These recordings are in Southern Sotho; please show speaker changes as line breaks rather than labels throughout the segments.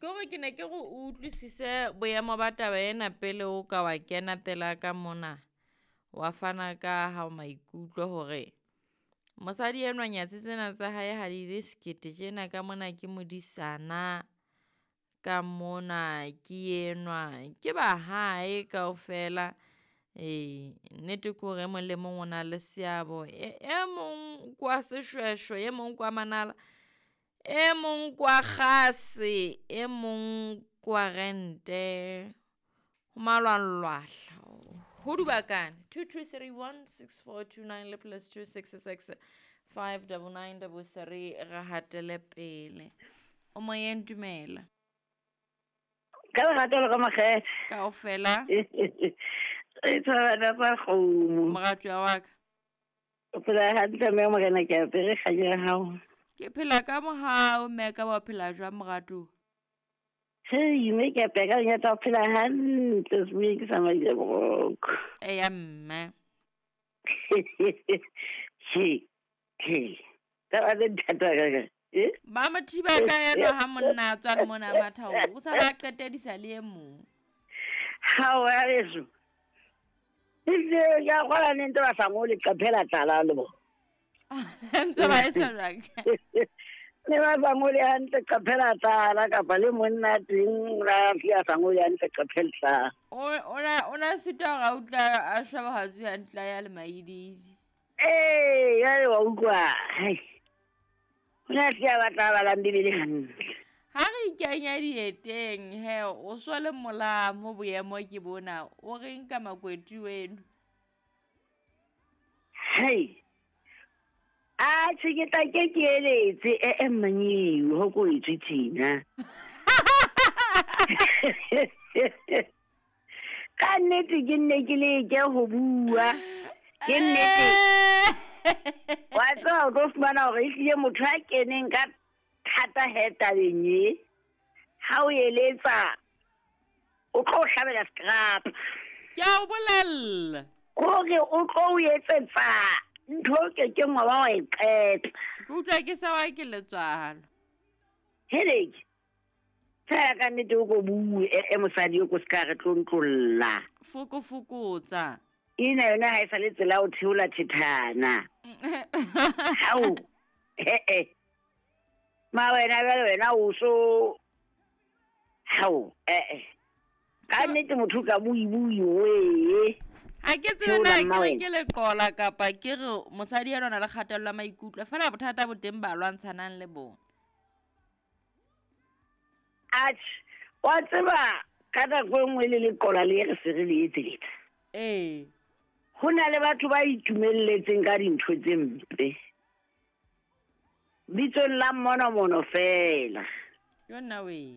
Ke gore ke ne ke re o utlwisise boemo ba taba ena pele o ka wa kena pela ka mona wa fana ka hao maikutlo hore mosadi enwa nyatsi tsena tsa hae ha di le sekete tjena ka mona ke modisana, ka mona ke enwa ke ba hae kaofela. Ee, nnete ke hore e mong le mong o na le seabo. E mong ke wa seshweshwe, e mong ke wa manala, e mong ke wa kgase, e mong ke wa rente. Ho malwanglwahla, ho dubakane. 22316429 le +266 59933 re hatele pele. O moyeng, dumela.
Ka lerato le ka makgethe.
Kaofela.
Re tshwarana tsa kgomo.
Moratuwa wa ka.
O phela hantle mme morena ke apere kganya ya hao.
Ke phela ka mohau mme ka ba phela jwang moratuwa?
Hei, mme ke apere ka lenyatsa o phela hantle semoyeng ke sa maile boroko.
Eya mme.
He, he. Taba tse thata ka ka. Eh?
Ba mo thiba ka enwa ha monna a tswa le mona matha o sa ba qetedisa le e mong.
Hao ya leso. Ehlile ke a kgolwa ne ntse ba sa ngole leqephe la tlala le bona.
Ntse ba etsa jwang?
Ne ba sa ngole hantle leqephe la tlala kapa le monna teng la hlile a sa ngole hantle leqephe le tlala.
O na sitwa hore a utlwa a sheba haufi hantle a ya le maididi.
Ee, jwale wa utlwa. Hai. O ne a hlile a batla a balang Bibele hantle.
Ha re ikenya dieteng he, o so le molamo boemo ke bona. O reng ka makweti weno?
Hei. Atjhe ke tla ke ke eletse e mmanyewe ho ko etswe tjena. Ka nnete ke nne ke leke ho bua. Ke nnete. Wa tseba o tlo fumana hore ehlile motho a keneng ka thata he tabeng e. Ha o eletsa o tlo hlabela scrap.
Ke a o bolella.
Hore o tlo o etsetsa ntho o kekeng wa ba wa e qeta.
Ke utlwa ke sa wa ke letswalo.
Heleke. Fela ka nnete o ko bue e mosadi o ko ska re tlontlolla.
Fokofokotsa.
Ena yona ha e sa le tsela o theola thethana. Hao. He-e. Ma wena jwale wena o so hao eh ka nnete motho ka bui bui wee.
Ha ke tsebe na ke re ke leqola kapa ke re mosadi enwa o na le kgatello ya maikutlo fela bothata bo teng ba lwantshanang le bona.
Atjhe, wa tseba ka nako e nngwe le leqola le re se re le etseletsa.
Ee.
Ho na le batho ba itumelletseng ka dintho tse mpe. Bitsong la mmonomono fela.
Yo nna we.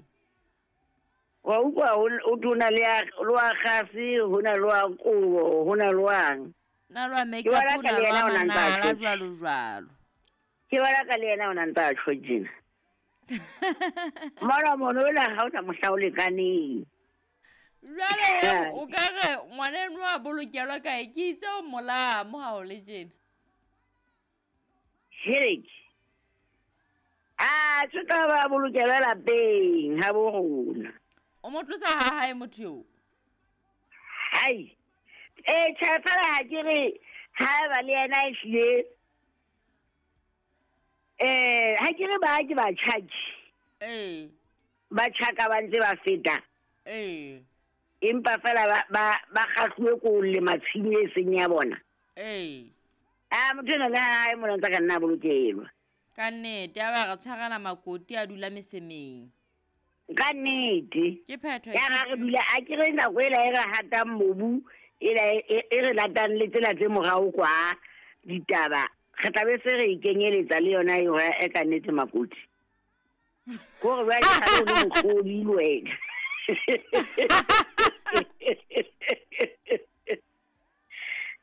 Wa utlwa o tona le wa kgase, ho na le wa kobo, ho na le wang.
Na lwa make up, ho na le wa manala jwalo jwalo.
Ke bona ka le yena o na ntse a tjho tjena. Mmonomono ona ha o na mohla o lekaneng.
Jwale o ka re ngwana enwa a bolokelwa kae? Ke itse o molamo ha o le tjena.
Heleke. A tse tla ba bolokelwa lapeng ha bo rona.
O mo tlosa ha hae motho eo?
Hai. Eh tjhe fela ha ke re ha ba le yena e hlile. Eh ha ke re ba ke ba tjhaki.
Eh.
Ba tjhaka ba ntse ba feta.
Eh.
Empa fela ba kgahluwe ko le matshimo e seng ya bona.
Eh.
A motho ena le hae mona ntse ka nna bolokelwa.
Ka nnete a ba re tshwarela makoti a dula mesemeng.
Ka nnete.
Ke phetho.
Ya ra re dula a ke re nako ela e re hatang mobu ela e re latang le tsela tse morao kwa ditaba. Re tla be se re ikenyeletsa le yona eo e ka nnete makoti. Gore ba ke ga le motlhodi le wena.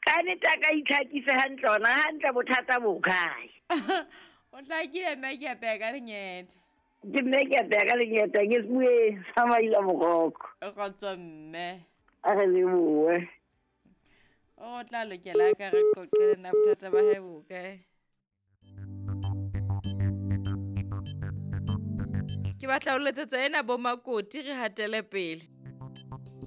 Ka nnete a ka itlhakisa hantle ona hantle bothata bo kae?
O hlakile mme ke apeya ka lenyethe.
Ke mme ke apeya ka lenyethe ke se bue sa maila moroko.
Kgotso mme.
A re lebohe.
O tla lokela ka re qoqele nna bothata ba hae bo kae? Ke batla ho letsetsa ena bo Makoti re hatele pele.